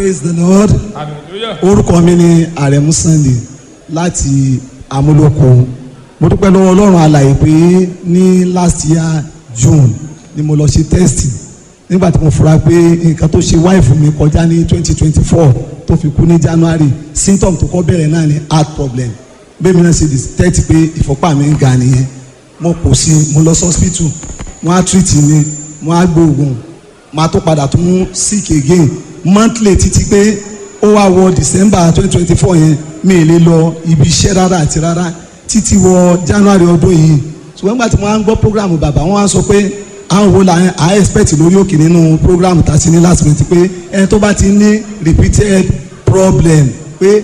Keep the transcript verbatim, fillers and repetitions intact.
Praise the Lord. Hallelujah. Orúkọ mi ni Àrẹ̀mú Sunday láti Amúlòkó. Mo dúpẹ́ lọ́wọ́ Ọlọ́run alàyè pé ní last year June ni mo lọ ṣe test, nígbà tí mo fura pé nǹkan tó ṣe wáìfù mi kọjá ní twenty twenty four tó fi kú ní January, symptom tó kọ́ bẹ̀rẹ̀ náà ni heart problem. Bẹ́ẹ̀ mi náà ṣe detect pé ìfọ́pá mi ń ga nìyẹn. Mo kò sí, mo lọ sí hospital, wọ́n á treat mi, wọ́n á gbóògùn, máa tó padà tún sick again monthly títí pé ó wá wọ December twenty twenty four yẹn, mi ì lè lọ ibi iṣẹ́ rárá àti rárá títí wọ January ọdún yìí. Ṣùgbọ́n nígbà tí wọ́n á ń gbọ́ program bàbá, wọ́n á sọ pé àwọn wo la à expect lórí òkè nínú program tá a ti ní last minute, pé ẹni tó bá ti ní repeated problem